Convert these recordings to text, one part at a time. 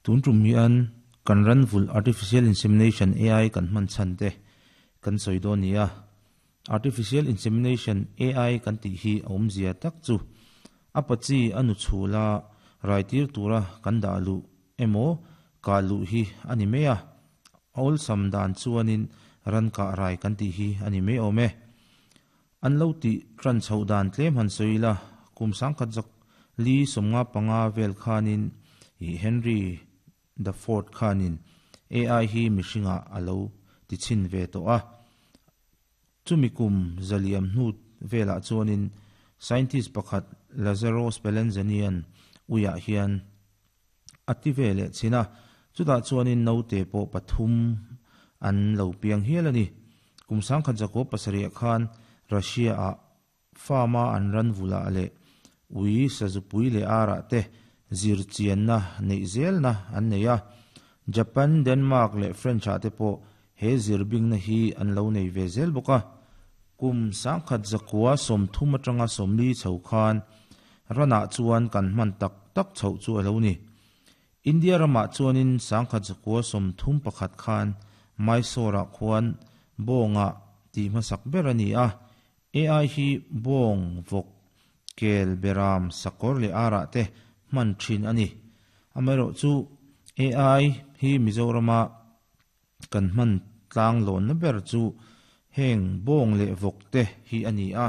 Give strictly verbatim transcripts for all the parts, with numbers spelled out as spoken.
Tun tum hian kan ran vul artificial insemination A I kan hman chhan te kan sawi dawn ni a. Artificial insemination A I kan tih hi a awmzia tak chu a pachi a nu chhula rai tir tura kan dah luh emaw ka luh hi a ni mai a. A awlsam dan chuanin ran kah rai kan tih hi a ni mai awm e. An lo tih tran chhoh dan tlem han sawi la kum sangkhat zak li sawmnga panga vel khanin i Henry the Fourth khanin A I hi mihringa a lo ti chin ve to a. Chumi kum zaliam hnu velah chuanin scientist pakhat Lazaro Spallanzanian uiah hian a ti ve leh china. Chutah chuanin naute pawh pathum an lo piang hial a ni. Kum sangkhat zakaw pasarih khan Russia a farma an ran vula leh ui sazupui leh ara te zir chianna nei zel na an nei a. Japan, Denmark leh French a te pawh he zir bing na hi an lo nei ve zel bawk a. Kum sangkhat zakua sawmthum atanga sawmli chho khan ranah chuan kan hman tak tak chho chu a lo ni. India ramah chuanin sangkhat zakua sawmthum pakhat khan Mysore ah khuan bawnga tih hmasak ber a ni a. A I hi bawng vawk kel beram sakawr leh ara te hman thin a ni. Amaherawh chu A I hi Mizorama kan hman tlang lawn na ber chu heng bawng leh vawk te hi a ni a.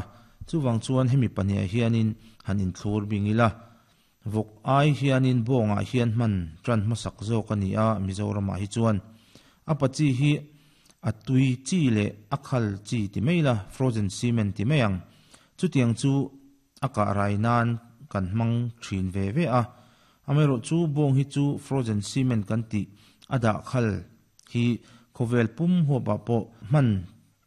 Chuwang chuan hemi pahnih hianin han inthlur bing ila. Vawk ai hianin bawngah hian hman tran hmasak zawk a ni a Mizorama hi chuan. A pachi hi a tui chi leh a khal chi ti mai la frozen semen ti mai ang. Chutiang chu a kah rai nan kan hmang thin ve ve a. Amaherawh chu bawng hi chu frozen semen kan ti a dah khal hi khawvel pum huapah pawh hman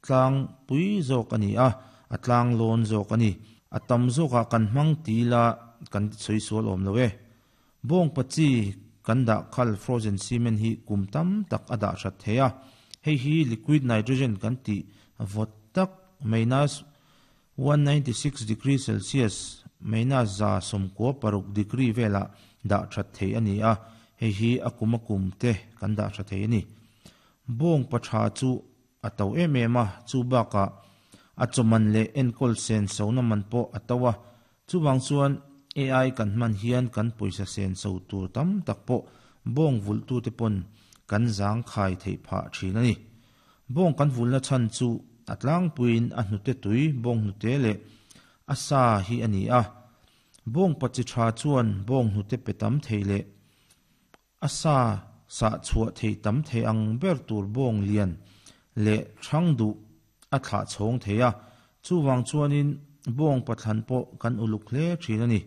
tlang pui zawk a ni a, a tlang lawn zawk a ni. A tam zawkah kan hmang ti la kan sawi sual awm lo e. Bawng pachi kan dah khal frozen semen hi kum tam tak a dah that thei a. Hei hi liquid nitrogen kan ti vawt tak minus one ninety-six degree Celsius minus za sawmkua paruk degree vela dah that thei a ni a. Hei hi a kum a kum te kan dah that thei a ni. Bawng patha chu a to em em a, chu bakah a chawman leh enkawl sen sona man pawh a to a. Chuwang chuan A I kan hman hian kan pawisa sen so tur tam tak pawh bawng vul tu te pawn kan zang khai thei phah thin a ni. Bawng kan vulna chhan chu a tlangpuiin a hnute tui bawng hnute leh a sa hi a ni a. Bawng pachi tha chuan bawng hnute pe tam thei leh a sa sa chhuah thei tam thei ang ber tur bawng lian leh thang duh a thlah chhawng thei a. Chuwang chuanin bawng pathlan pawh kan uluk hle thin a ni.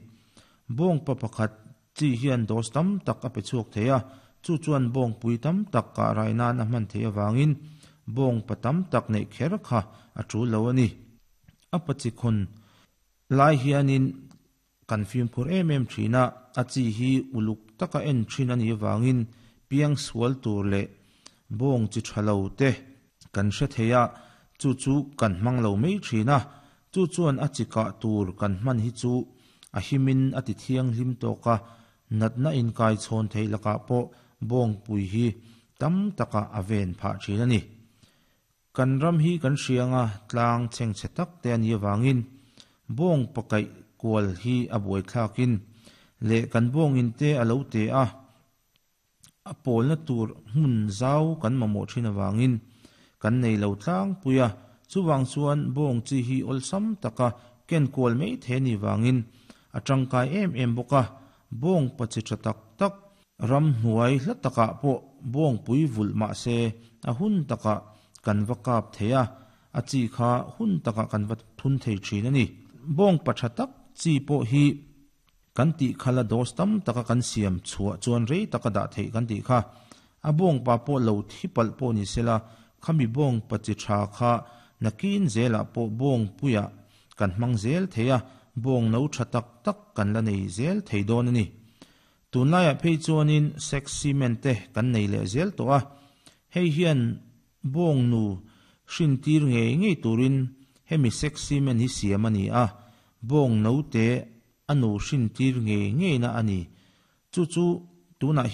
Bawng pa pakhat chi hian dos tam tak a pe chhuak thei a. Chu chuan bawng pui tam tak ka rai nan a hman thei awangin bawng pa tam tak nei kher kha a tul lo a ni. A pachi khun lai hianin kan fimkhur em em thina a chi hi uluk taka en thin a ni awangin piang sual tur leh bawng chi thalo te kan hre thei a. Chu chu kan hmang lo mai thina. Chu chuan a chi kah tur kan hman hi chu a himin a ti thiang hlim tawka natna in kai chhawn thei lakah pawh bawng pui hi tam taka a ven phah thin a ni. Kan ram hi kan hrianga tlang cheng che tak te a ni awangin bawng pakai kual hi a buai thlakin leh kan bawng in te a lo te a. A pawlna tur hmun zau kan mamawh thin awangin kan nei lo tlang puia. Chuwang chuan bawng chi hi awlsam taka ken kual mai the ni wangin a tangkai em em bawk a. Bawng pachi tha tak tak ram hnuai hla takah pawh bawng pui vul mah se a hun taka kan va kap thei a. A chi kha hun taka kan va thun thei thin a ni. Bawng pa tha tak chi pawh hi kan tih khala dos tam taka kan siam chhuah chuan rei taka dah thei kan tih kha. A bawng pa pawh lo thi palh pawh ni sela khami bawng pa chi tha kha nakin zelah pawh bawng puia kan hmang zel thei a. Bawng no tha tak tak kan la nei zel thei dawn a ni. Tunlaiah phei chuanin sex semen te kan nei leh zel tawh a. Hei hian bawng nu hrin tir ngei ngei turin hemi sex semen hi siam a ni a. Bawng no te a nu hrin tir ngei ngei na a ni. Chu chu tunah